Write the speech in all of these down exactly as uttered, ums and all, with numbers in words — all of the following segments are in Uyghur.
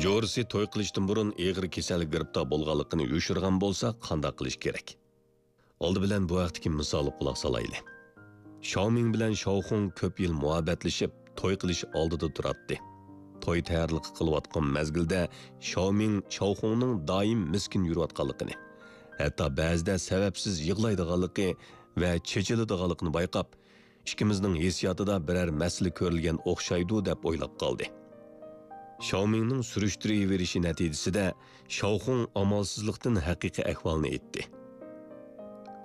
جورىسى توي قىلىشتىن بۇرۇن ئېغىر كېسەلگە گىرىپتار بولغانلىقىنى يوشۇرغان بولسا، قانداق قىلىش كېرەك؟ ئالدى بىلەن بۇ ھەقتىكى مىسالغا قۇلاق سالايلى. شاۋمىڭ بىلەن شاۋخۇڭ كۆپ يىل مۇھەببەتلىشىپ، توي قىلىش ئالدىدا تۇراتتى. توي تەييارلىقى قىلىۋاتقان مەزگىلدە شاۋمىڭ شاۋخۇڭنىڭ دائىم مىسكىن يۈرۈۋاتقانلىقىنى، ھەتتا بەزىدە سەۋەبسىز يىغلايدىغانلىقى ۋە چېچىلىدىغانلىقىنى بايقاپ، ئىككىمىزنىڭ ھېسسىياتىدا بىرەر مەسىلە كۆرۈلگەن ئوخشايدۇ، دەپ ئويلاپ قالدى. شاۋمىڭنىڭ سۈرۈشتۈرۈۋېرىشى نەتىجىسىدە شاۋخۇڭ ئامالسىزلىقتىن ھەقىقىي ئەھۋالنى ئېيتتى.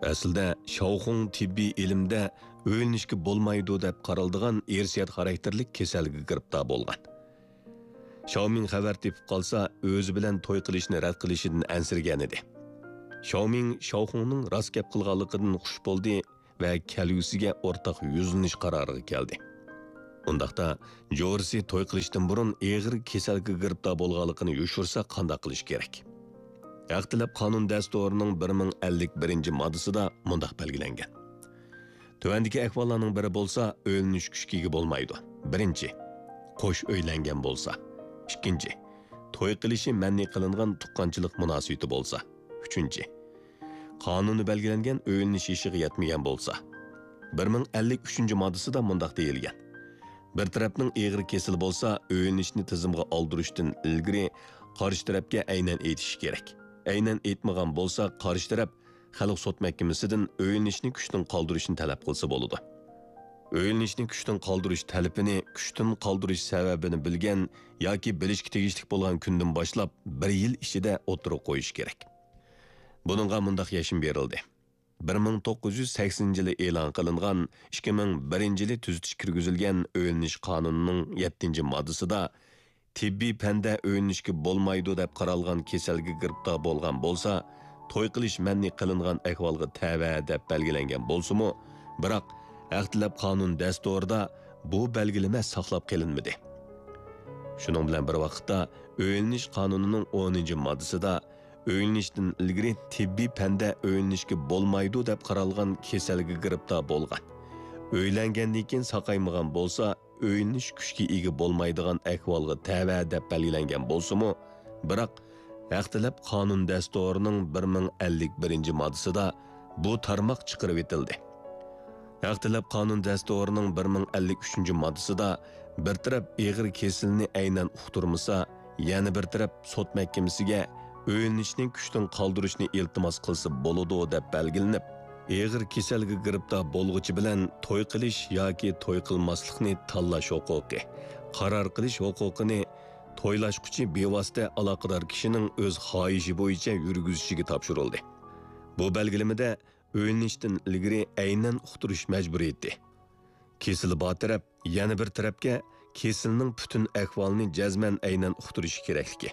ئەسلىدە شاۋخۇڭ تېببىي ئىلىمدە ئۆيلىنىشكە بولمايدۇ دەپ قارالىدىغان ئىرسىيەت خاراكتېرلىك كېسەلگە گىرىپتار بولغان. شاۋمىڭ خەۋەر تېپىپ قالسا، ئۆزى بىلەن توي قىلىشنى رەت قىلىشىدىن ئەنسىرىگەنىدى. شاۋمىڭ شاۋخۇڭنىڭ راست گەپ قىلغانلىقىدىن خۇش بولدى ۋە كەلگۈسىگە ئورتاق يۈزلىنىش قارارىغا كەلدى. ئۇنداقتا، جورىسى توي قىلىشتىن بۇرۇن ئېغىر كېسەلگە گىرىپتار بولغانلىقىنى يوشۇرسا قانداق قىلىش كېرەك؟ ھەق تەلەپ قانۇن دەستۇرىنىڭ بىر مىڭ ئەللىك بىرىنچى ماددىسىدا مۇنداق بەلگىلەنگەن: تۆۋەندىكى ئەھۋاللارنىڭ بىرى بولسا، ئۆيلىنىش كۈچكە ئىگە بولمايدۇ. بىرىنچى، قوش ئۆيلەنگەن بولسا. ئىككىنچى، توي قىلىشى مەنئى قىلىنغان تۇغقانچىلىق مۇناسىۋىتى بولسا. ئۈچىنچى، قانۇندا بەلگىلەنگەن ئۆيلىنىش يېشىغا يەتمىگەن بولسا. بىر مىڭ ئەللىك ئۈچىنچى ماددىسىدا مۇنداق دېيىلگەن: بىر تەرەپنىڭ ئېغىر كېسىلى بولسا، ئۆيلىنىشنى تىزىمغا ئالدۇرۇشتىن ئىلگىرى قارشى تەرەپكە ئەينەن ئېيتىشى كېرەك. ئەينەن ئېيتمىغان بولسا، قارشى تەرەپ خەلق سوت مەھكىمىسىدىن ئۆيلىنىشنى كۈچتىن قالدۇرۇشنى تەلەپ قىلسا بولىدۇ. ئۆيلىنىشنى كۈچتىن قالدۇرۇش تەلىپىنى كۈچتىن قالدۇرۇش سەۋەبىنى بىلگەن ياكى بىلىشكە تېگىشلىك بولغان كۈندىن باشلاپ بىر يىل ئىچىدە ئوتتۇرىغا قويۇش كېرەك. بۇنىڭغا مۇنداق يەشمە بېرىلدى: بىر مىڭ توققۇز يۈز سەكسىنىنچى يىلى ئېلان قىلىنغان، ئىككى مىڭ بىرىنچى يىلى تۈزىتىش كىرگۈزۈلگەن ئۆيلىنىش قانۇنىنىڭ يەتتىنچى ماددىسىدا تېببىي پەندە ئۆيلىنىشكە بولمايدۇ دەپ قارالغان كېسەلگە گىرىپتار بولغان بولسا، توي قىلىش مەنئى قىلىنغان ئەھۋالغا تەۋە دەپ بەلگىلەنگەن بولسىمۇ، بىراق ھەق تەلەپ قانۇن دەستۇرىدا بۇ بەلگىلىمە ساقلاپ قېلىنمىدى. شۇنىڭ بىلەن بىر ۋاقىتتا، ئۆيلىنىش قانۇنىنىڭ ئونىنچى ماددىسىدا ئۆيلىنىشتىن ئىلگىرى تېببىي پەندە ئۆيلىنىشكە بولمايدۇ دەپ قارالغان كېسەلگە گىرىپتار بولغان، ئۆيلەنگەندىن كېيىن ساقايمىغان بولسا، ئۆيلىنىش كۈچكە ئىگە بولمايدىغان ئەھۋالغا تەۋە دەپ بەلگىلەنگەن بولسىمۇ، بىراق ھەق تەلەپ قانۇن دەستۇرىنىڭ بىر مىڭ ئەللىك بىرىنچى ماددىسىدا بۇ تارماق چىقىرىۋېتىلدى. ھەق تەلەپ قانۇن دەستۇرىنىڭ بىر مىڭ ئەللىك ئۈچىنچى ماددىسىدا بىر تەرەپ ئېغىر كېسىلىنى ئەينەن ئۇقتۇرمىسا، يەنە بىر تەرەپ سوت مەھكىمىسىگە ئۆيلىنىشنى كۈچتىن قالدۇرۇشنى ئىلتىماس قىلسا بولىدۇ، دەپ بەلگىلىنىپ، ئېغىر كېسەلگە گىرىپتار بولغۇچى بىلەن توي قىلىش ياكى توي قىلماسلىقنى تاللاش ھوقۇقى، قارار قىلىش ھوقۇقىنى تويلاشقۇچى بىۋاسىتە ئالاقىدار كىشىنىڭ ئۆز خاھىشى بويىچە يۈرگۈزۈشىگە تاپشۇرۇلدى. بۇ بەلگىلىمىدە ئۆيلىنىشتىن ئىلگىرى ئەينەن ئۇقتۇرۇش مەجبۇرىيىتى، كېسىلى بار تەرەپ يەنە بىر تەرەپكە كېسىلىنىڭ پۈتۈن ئەھۋالىنى جەزمەن ئەينەن ئۇقتۇرۇشى كېرەكلىكى،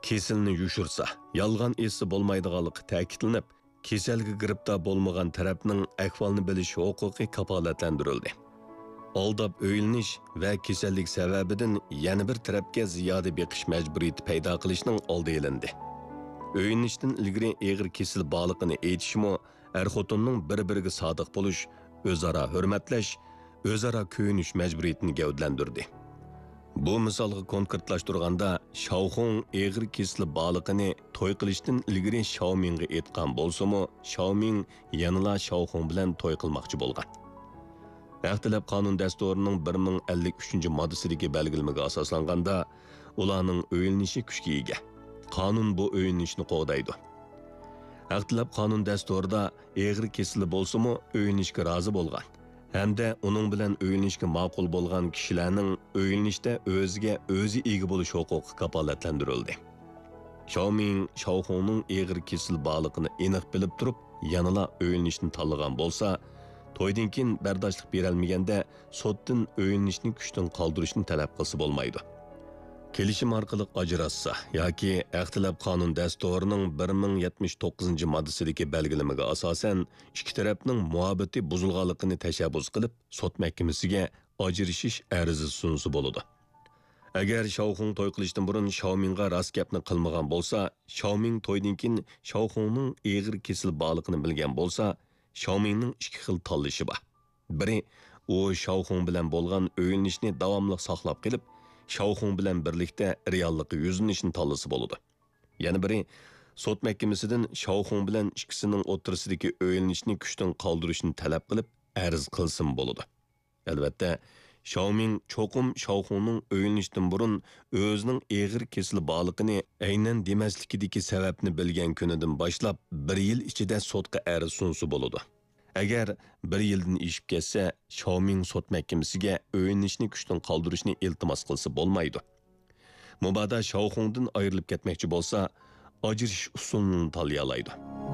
كېسىلىنى يوشۇرسا، يالغان ئېيتسا بولمايدىغانلىقى تەكىتلىنىپ، كېسەلگە گىرىپتار بولمىغان تەرەپنىڭ ئەھۋالنى بىلىش ھوقۇقى كاپالەتلەندۈرۈلدى. ئالداپ ئۆيلىنىش ۋە كېسەللىك سەۋەبىدىن يەنە بىر تەرەپكە زىيادە بېقىش مەجبۇرىيىتى پەيدا قىلىشنىڭ ئالدى ئېلىندى. ئۆيلىنىشتىن ئىلگىرى ئېغىر كېسىل بارلىقىنى ئېيتىشمۇ ئەر-خوتۇننىڭ بىر-بىرىگە سادىق بولۇش، ئۆزئارا ھۆرمەتلەش، ئۆزئارا كۆيۈنۈش مەجبۇرىيىتىنى گەۋدىلەندۈردى. بۇ مىسالغا كونكرېتلاشتۇرغاندا، شاۋخۇڭ ئېغىر كېسىلى بارلىقىنى توي قىلىشتىن ئىلگىرى شاۋمىڭغا ئېيتقان بولسىمۇ، شاۋمىڭ يەنىلا شاۋخۇڭ بىلەن توي قىلماقچى بولغان. ھەق تەلەپ قانۇن دەستۇرىنىڭ بىر مىڭ ئەللىك ئۈچىنچى ماددىسىدىكى بەلگىلىمىگە ئاساسلانغاندا، ئۇلارنىڭ ئۆيلىنىشى كۈچكە ئىگە. قانۇن بۇ ئۆيلىنىشنى قوغدايدۇ. ھەق تەلەپ قانۇن دەستۇرىدا ئېغىر كېسىلى بولسىمۇ ئۆيلىنىشكە رازى بولغان ھەمدە ئۇنىڭ بىلەن ئۆيلىنىشكە ماقۇل بولغان كىشىلەرنىڭ ئۆيلىنىشتە ئۆزىگە ئۆزى ئىگە بولۇش ھوقۇقى كاپالەتلەندۈرۈلدى. شاۋمىڭ شاۋخۇڭنىڭ ئېغىر كېسىلى بارلىقىنى ئېنىق بىلىپ تۇرۇپ، يەنىلا ئۆيلىنىشنى تاللىغان بولسا، تويدىن كېيىن بەرداشلىق بېرەلمىگەندە، سوتتىن ئۆيلىنىشنى كۈچتىن قالدۇرۇشنى تەلەپ قىلسا بولمايدۇ. كېلىشىم ئارقىلىق ئاجراشسا ياكى ھەق تەلەپ قانۇن دەستۇرىنىڭ بىر مىڭ يەتمىش توققۇزىنچى ماددىسىدىكى بەلگىلىمىگە ئاساسەن، ئىككى تەرەپنىڭ مۇھەببىتى بۇزۇلغانلىقىنى تەشەببۇس قىلىپ، سوت مەھكىمىسىگە ئاجرىشىش ئەرزى سۇنسا بولىدۇ. ئەگەر شاۋخۇڭ توي قىلىشتىن بۇرۇن شاۋمىڭغا راست گەپنى قىلمىغان بولسا، شاۋمىڭ تويدىن كېيىن شاۋخۇڭنىڭ ئېغىر كېسىلى بارلىقىنى بىلگەن بولسا، شاۋمىڭنىڭ ئىككى خىل تاللىشى بار. بىرى، ئۇ شاۋخۇڭ بىلەن بولغان ئۆيلىنىشنى داۋاملىق ساقلاپ قېلىپ، شاۋخۇڭ بىلەن بىرلىكتە رېئاللىققا يۈزلىنىشنى تاللىسا بولىدۇ. يەنە بىرى، سوت مەھكىمىسىدىن شاۋخۇڭ بىلەن ئىككىسىنىڭ ئوتتۇرىسىدىكى ئۆيلىنىشنى كۈچتىن قالدۇرۇشنى تەلەپ قىلىپ ئەرز قىلسىمۇ بولىدۇ. ئەلۋەتتە، شاۋمىڭ چوقۇم شاۋخۇڭنىڭ ئۆيلىنىشتىن بۇرۇن ئۆزىنىڭ ئېغىر كېسىلى بارلىقىنى ئەينەن دېمەسلىكىدىكى سەۋەبنى بىلگەن كۈنىدىن باشلاپ بىر يىل ئىچىدە سوتقا ئەرز سۇنسا بولىدۇ. ئەگەر بىر يىلدىن ئېشىپ كەتسە، شاۋمىڭ سوت مەھكىمىسىگە ئۆيلىنىشنى كۈچتىن قالدۇرۇشنى ئىلتىماس قىلسا بولمايدۇ. مۇبادا شاۋخۇڭدىن ئايرىلىپ كەتمەكچى بولسا، ئاجرىشىش ئۇسۇلىنى تاللىيالايدۇ.